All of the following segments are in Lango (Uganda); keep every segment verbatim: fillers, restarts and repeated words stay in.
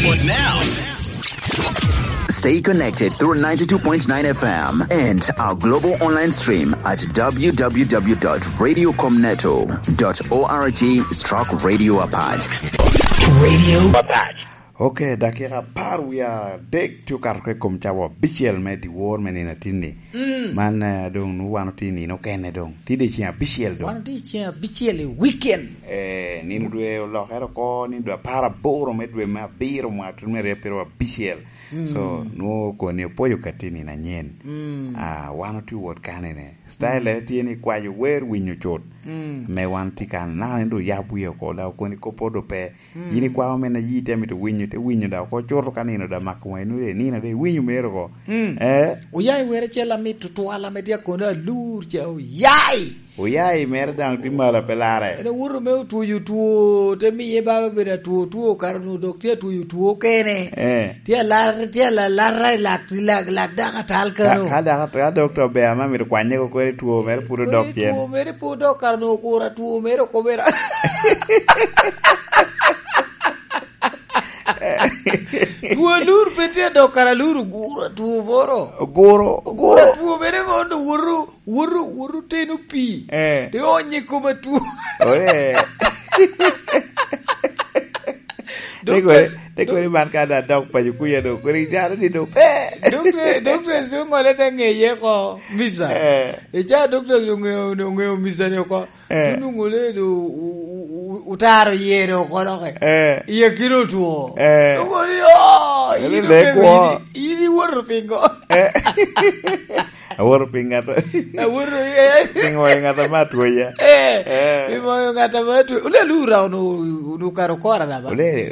But now, stay connected through ninety-two point nine F M and our global online stream at W W W dot radio comneto dot org stroke radio Apac. Radio Apac. Ok, dakika apar wie adek tye okato ka i kom cawa abicel me dyewor me nino atinni. Mm. Man, eh, doŋ nwoŋo wan otye i nino okene doŋ. Tye dye ceng abicel doŋ. Wan otye i ceng abicel i weekend. Eh, nino dwe olokere oko, nino dwe apar aboro me dwe me abiro mwaka tuno me aryo apar abicel. Mm. So, nwoŋo koni opwoyo katti nino anyen. Mm. Ah, wan otye wot kanene. Style, mm, tye ni kwayo wer winyo cut. Mm. Me wan tye kan, naka ni do yab wie oko, da okoni kop odo pe. Mm. Yin ikwao mene yi te mito winyo, te winyo da oko cuto ka nino da mako wai, nwoŋo nino da iwinyo mero oko. Mm. Eh? Oya i wer acel amit tutwal ame tye akono alur ca, oya i. Oya i mere daŋ tye malo pe larre. En owoto me otwoyo two, te miye baba bedo atwo, two kara onwoŋo dok tye atwoyo two kene. Eh. Tye alar, tye alar, alar i lak, i lak, lak dako atal kano. Ka, ka dako, ka dokta ober ame amito kwanye ko kweri two mere pud odok cen. Two mere pud odok kara onwoŋo okuro atwo mere okobera. Two alur pe tye dok kara alur oguro atwo moro. Oguro, oguro. Oguro atwo mere mondo woto, woto, woto teno pii. Eh. Te onyo i kom atwo. Oh, yeah. Dok Te kodi, te kodi man ka da dok paco kuya do, kodi jaro ni do pe. Dokta, dokta Zungo le te ngeye ko misa. Eh. Eca dokta Zungo ongeyo, ongeyo misa ni oko. Eh. Onwoŋo le do u-, u-, u-, otaro yero oko doke. Eh. Iye kino otwo. Eh. Onwoŋo ni, "Oh, yin okego kwo. Yin, yin iwoto pingo?" Eh. Awoto pi ŋat. Awoto, eh. Pi ŋoyo ŋat ame atwoya. Eh, eh. Pi ŋoyo ŋat ame atwoya. Ole lura ono, ono karo kora da ba? Ole,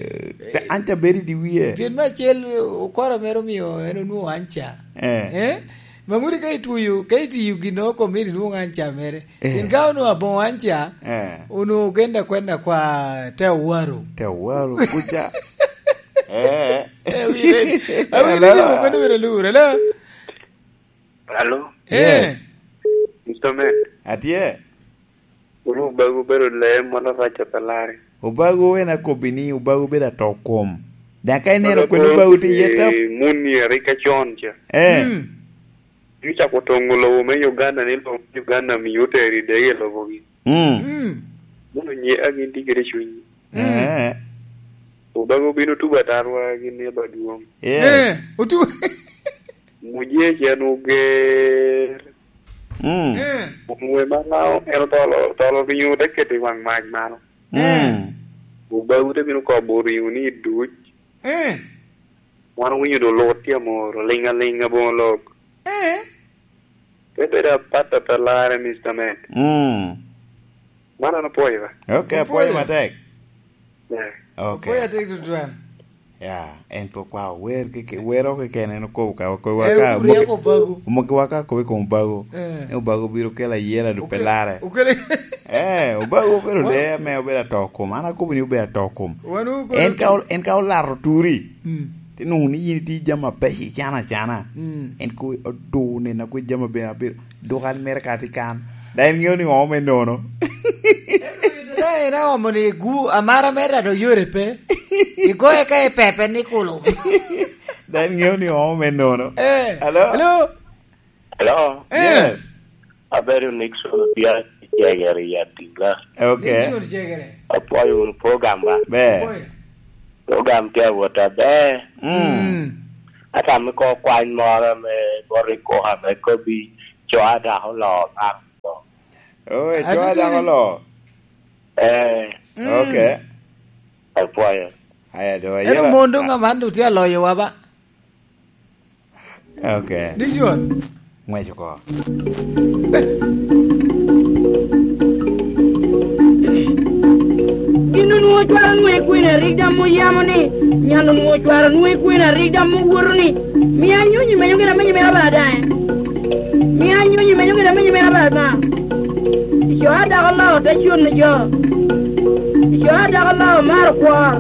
te, an ca bedo i dye wie. Pien me acel, okora mere omio en onwoŋo anca. Eh. Eh? Ma ŋuti ka itwoyo, ka itiyo gin oko meri nwoŋo anca mere. Eh. Pien ka onwoŋo aboŋo anca, eh, onwoŋo genda kwenda kwa te owaro. Te owaro kuca. Eh. Eh, wire. Awire ni mano wire lura, la. Alo? Eh. Yes. Mister Man. Atye. Wun Obago obedo lee moro arac a pe larre. Obago en akobbi ni Obago obedo ato kom. Daŋ ka ineno kwene Obago tye iye tap. Muni arika con ca. Eh. Mm. Pi cako toŋo lobo me Uganda ni lobo me Uganda mio otero i dege i lobogi. Mm. Mm. Mono nye a gin tye kede cuny. Mm. Eh. Obago obino tubo atarwa gin ni aba dwong. Yes. Eh, otu- Muje cen oger. Mm. Eh. Onwe ma en otolo, otolo ringo te keto i wang mac malo. Mm. Obago te bino kobo ringo ni duc. Eh. Wan owinyo do lut tye amor, oling alinga boŋo lok. Eh. Pe bedo apat a pe larre, Mister Man. Mm. Man an apwoyo ba. Ok, apwoyo. Apwoyo matek. Yeah. Ok. Apwoyo atek tutwal. Ya, en pe okwao wer keke-, wero keken en okobo ka, okobo ka, oryeko Obago. Omogi waka akobo i kom Obago. Eh. Ni Obago biro kelo ayela dok pe larre. Okele. Eh, Obago obedo lee ame obedo ato kom. An akobo ni obedo ato kom. Wan okobo en ka ol-, en ka olato turi. Mm. Te nwoŋo ni yin itye jami abeco icano acana. Mm. En ko odur nena kwe jami abedo, abedo. Dok an mere ka atye kan. Da en ŋeo ni ŋo me nono. Da en aomo ni gu-, amara me rado yore pe. Igoye ka i pepe ni kulu. Da en ŋeo ni ŋo me nono. Eh. Hello? Hello? Hello? Eh. Yes. Abedo Nixon Opiac, Jegere i Atinga. Ok. Nixon Jegere. Apwoyo wunu program ba? Ber. Apwoyo. Program tye awot aber. Mm. Mm. Ata me ko kwany moro me bot i koka me kobbi, co a dako oloo ŋat. Oh, e co a dako oloo. Eh. Mm. Ok. Apwoyo. Aya, do, eno ayela. Mon doŋ aman doŋ tye aloyowa ba? Ok. Dicuon. Ngwec oko. Gin onwoŋo cware onwoŋo i kwena rik dam oyamo ni, nyal onwoŋo cware onwoŋo i kwena rik dam owoto ni, "Mia anyonyi menyo gin amenyo mera ba daŋ." Mia anyonyi menyo gin amenyo mera ba daŋ. Ico a dako oloo te cuno jo. Ico a dako oloo maro kwor.